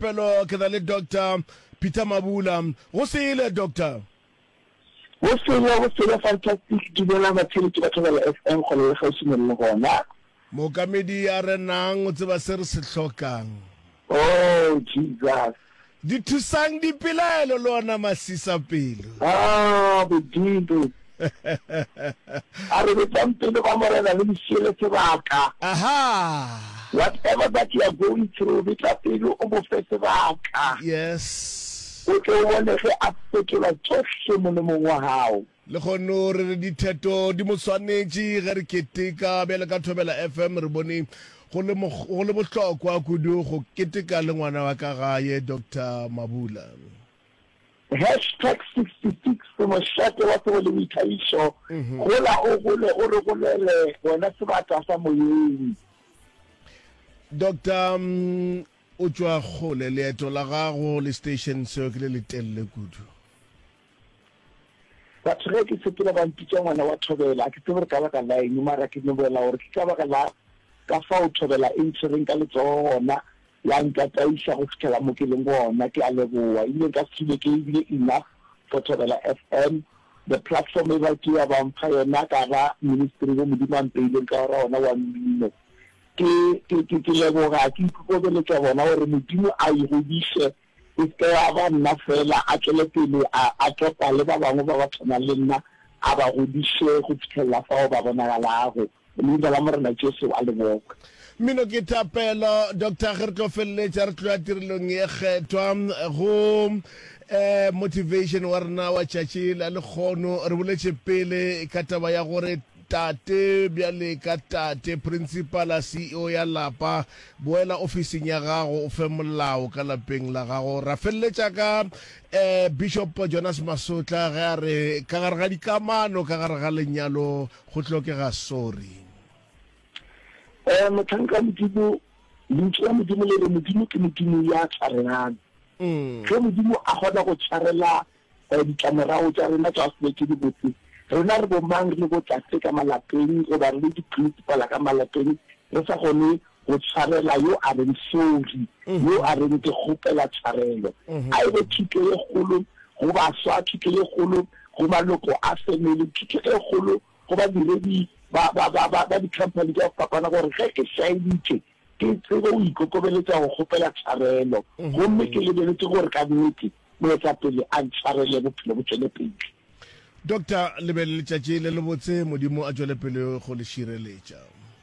Pelo ke na le Doctor Peter Mabula. Go sele, Doctor. Go sele, go sele, fantastic. Dumela batheeletši ba Thobela FM kgole le kgauswi mo le le gona. Mookamedi a re nang o tseba se re se hlokang. Oh Jesus. Di thusang dipelaelo le ona masisapelo. Ah, Modimo. A re betsang pelo ba Morena le mosiele sebaka. Aha. Whatever that you are going through, betla pelo o mo fe sebaka. Yes. O tle o bone ge a fetola tsohle molemong wa gago. Lehono re re ditheto di mo swanetše ge re keteka bjale ka Thobela FM re bone go le go le bohlokwa kudu go keteka le ngwana wa ka gae Doctor Mabula. Hashtag 66 Mošate wa tsebo le boithabišo, Gola o gole o re golele wena sebata sa moyeng. Doctor o tšwa kgole, leeto la gago le station seo ke le letelele kudu. Batho ge ke sepela ba mpitša ngwana wa Thobela, a ke tsebe gore ka baka la eng, mara ke no bolela gore ke ka baka la ka fao Thobela e ntshwereng ka letsogo gona, ya ntataiša go fihlela mo ke leng gona. Ke a leboga. Ebile nka se dule ke ebile enough for Thobela FM, the platform e ba ke ya ba mpha yona ka ba ministry wo Modimo a mpeileng ka gora ona wa mmino. Ke, ke, ke, ke leboga, ke ikokobeletša bona gore Modimo a e godiše E se ke ya ba nna feela, a tšwele pele a a topa le ba bangwe ba ba tshwanang le nna, a ba godiše go fihlelela fao ba bonagalago. Leina la Morena Jesu a le bokwe. Mmino ke thapelo. Doctor, ge re tlo feleletša re tlo ya tirelong ye kgethwa go eh, motivation wa rena wa tšatši la lekgono. Re boletše pele ka taba ya gore tate bjale ka tate, principala, CEO ya lapa, Boela ofising ya gago o fe molao ka lapeng la gago. Ra feleletša ka eh, Bishop Jonas Masotla ge a re ka gare ga dikamano ka gare ga lenyalo go hlokega sorry. Eh, mohlanka wa Modimo, Lentšu la Modimo le re Modimo ke Modimo ya tshwarelang. Ge Modimo a kgona go tshwarela Ditlamorago tša rena tša go se be tše dibotse. Rena re bomang re le botate ka malapeng goba re le diprinsipala ka malapeng re sa kgone go tshwarela yo a reng sorry, yo a reng ke kgopela tshwarelo? A e be thuto ye kgolo go baswa, thuto ye kgolo go maloko a family, thuto e kgolo go badiredi ba, ba, ba, ba, ba di-company tša go fapana gore ge ke šaeditše ke tsebe go ikokobeletša go kgopela tshwarelo gomme ke lebeletše gore ka nnete Moetapele a ntshwarele bophelo bo tšwele pele. Doctor le be le letšatši le lebotse Modimo a tšwele pele go le šireletša.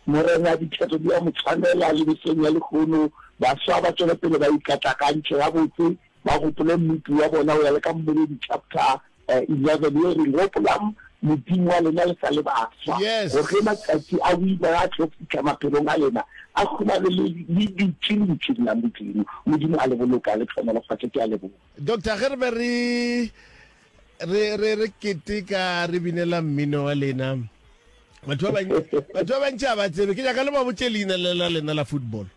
Morena dithetho di a mo tshwanela le mehleng ya lehono. Baswa ba tšwele pele ba ikatakantšhe gabotse, ba gopole Mmopi wa bona go ya le ka Mmoledi chapter 11 ye e reng, Gopolang Modimo wa lena le sa le baswa, Yes. gore ge matšatši a boima a tlo fihla maphelong a lena, a humane le le dutše lentšung la Modimo. Modimo a le boloke, a le hlohonolofatše. Ke a leboga. Doctor, ge re be re re re re keteka re binela mmino wa lena, batho ba bantši batho ba bantši ga ba tsebe. Ke nyaka le ba botše leina le la lena la football.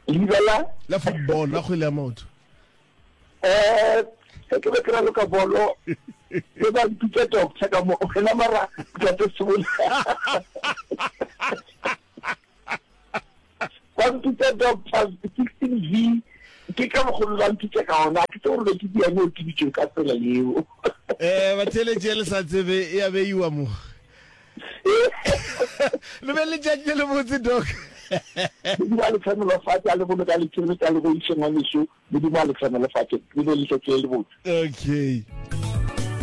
Leina la? La football, la kgwele ya maoto. Eh, ge ke be ke raloka bolo, be ba mpitša doctor ka mo, wena mara Ntate Sebola. Ba mpitša doctor 16V, ke ka mokgwa be ba mpitša ka ona, ke tsebe gore be ke diane o ke bitšwe ka tsela yeo. Eh, batheeletši le sa tsebe e a beiwa mo. Le be le letšatši le lebotse, Doc. Modimo a le hlohonolofatše, a le boloke, a le tšhireletše, a le godiše ngwanešu. Modimo a le hlohonolofatše. Le be le letšatši le lebotse. Okay.